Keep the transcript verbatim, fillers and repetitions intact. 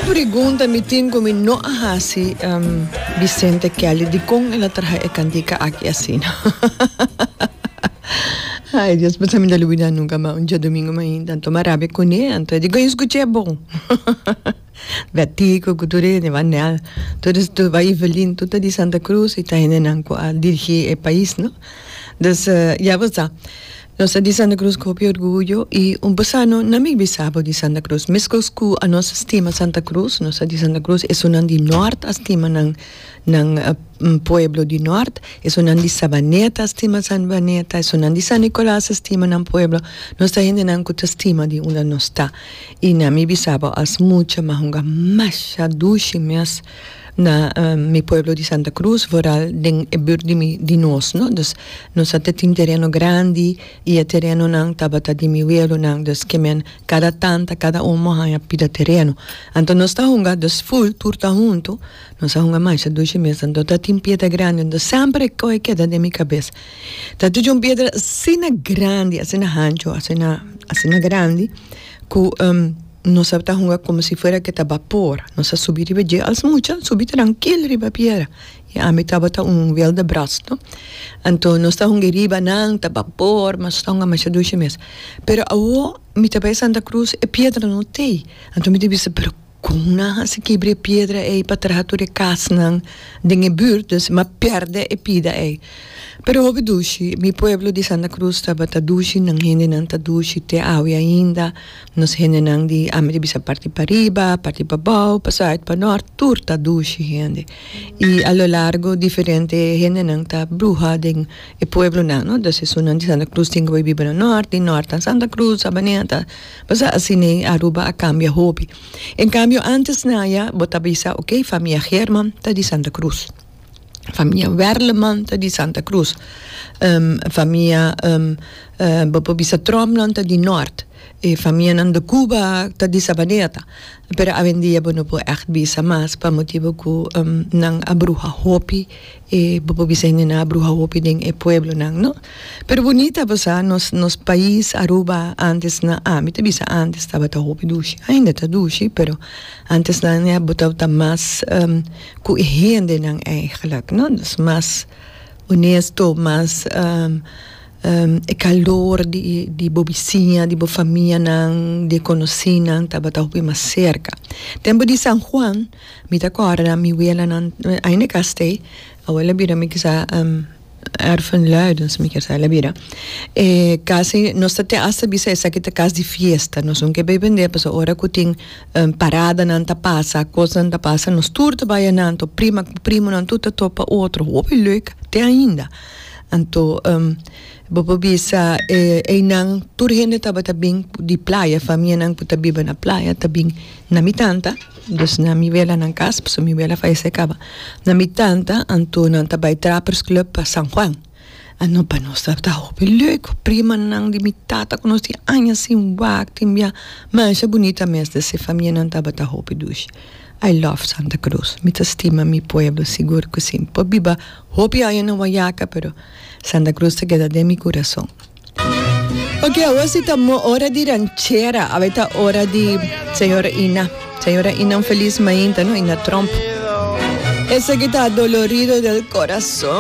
Pregunta mi tin ku mi no a hasi um, Vicente Kelly di kon el a traha e kantika aki asina. Ai, Dios, mi no ta lubidá nunka mas. Un djadumingu mainta, anto m'a rabia kuné, anto e di, skucha bon. Betico, Kuturene, Vanel, tur tur Evelyn, tur di Santa Cruz i ta hendenan ku a dirigí e pais, no? Dus, uh, ja, bo sa. Nos di Santa Cruz ku hopi orguyo i un pasano na mi bisabo di Santa Cruz. Meskos ku nos stima Santa Cruz, nos di Santa Cruz, esunnan di Noord stima nan nan uh, pueblo di Noord, esunnan di Savaneta stima Savaneta, esunnan di San Nicolas stima nan pueblo. Nos ta hendenan ku stima di unda nos ta. I na mi bisabo as mucha m'a hunga masha dushi mes na um, mi pueblo di Santa Cruz, vooral den e buurt di mi di nos, no? Dus nos tabatin tereno grandi i e terenonan tabata di mi welonan, dus ke men kada tanta, kada un a haña pida tereno. Anto nos ta hunga, dus full tur ta huntu, nos a hunga masha dushi mes, anto tabatin piedra grandi, anto semper e kos a keda den mi kabes. Tabatin un piedra asina grandi, asina hanchu, asina, asina grandi, ku um, nos ta hunga komo si fuera ku ta bapor. Nos a subi riba dje, als mucha, subi trankil riba piedra. I ami tabata un wilde bras, no? Anto nos ta hunga riba nan, ta bapor, mas ta hunga masha dushi mes. Pero awo, mi ta bai Santa Cruz, e piedra no t'ei. Anto mi ta bisa, pero kon nan a hasi kibra e piedra ei pa traha tur e kasnan den e buurt, dus m'a pèrdè e pida ei. Pero hopi dushi, mi pueblo di Santa Cruz tabata dushi, nan hendenan ta dushi te awe ainda, nos hendenan di ami ta bisa parti pariba, parti pabou, pa zuid, pa noord, tur ta dushi hende. I a lo largo diferente hendenan ta bruha den e pueblonan, no? Dus esunnan di Santa Cruz tin ku biba na noord, di noord na Santa Cruz, Sabaneta, pasobra asina Aruba a kambia hopi. En kambio antes na ya, bo ta bisa, ok, famia Herman ta di Santa Cruz. Famia Werleman ta di Santa Cruz. Um, famia um, uh, bo por bisa Tromp ta di Noord. E famianan de Cuba ta di Sabaneta. Pero awendia bo no por echt bisa mas pa motibu ku um, nan a bruha hopi e bo por bisa nan a bruha hopi den e pueblonan, no? Pero bunita basa nos nos pais Aruba antes na ami ta bisa antes tabata hopi dushi. Ainda ta dushi, pero antes nan ya bo tabata mas um, ku hendenan eigenlijk, no? Dus mas honesto, mas um, um, e kalor di, di bo bisiña, di bo famianan, di konosínan, tabata hopi mas serka. Tempu di San Juan, mi ta kòrda mi welanan, ainda kas t'ei, awor el a bira mi kisa um, erfenluidens, mi ke el a bira. E kasi, nos ta te hasta bisa esaki ta kas di fiesta, nos no ke bai bende, pasobra ora ku tin um, paradanan ta pasa, kosnan ta pasa, nos tur ta bai einan, to prima, primonan tur ta topa otro, hopi leuk, te ainda. Anto, um, bo por bisa eh, einan tur hende tabata bin di playa, famianan ku ta biba na playa, ta bin na mi tanta, dus na mi wela nan kas, pasobra mi wela a fayesé kaba. Na mi tanta, anto nan ta bai Trappers Club pa San Juan. Anto pa nos tabata hopi leuk, primanan di mi tata ku nos tin aña sin wak, tin bia, masha bunita mes, dus e famianan tabata hopi dushi. I love Santa Cruz. Mi ta stima mi pueblo, sigur ku si. Por biba hopi aña na Wayaca, pero Santa Cruz ta keda den mi kurason. Ok, awor ta ora di ranchera. Awor ta ora di señora Ina. Señora Ina, un felis mainta, no? Ina Trump. Esaki ta Dolorido del Corazón.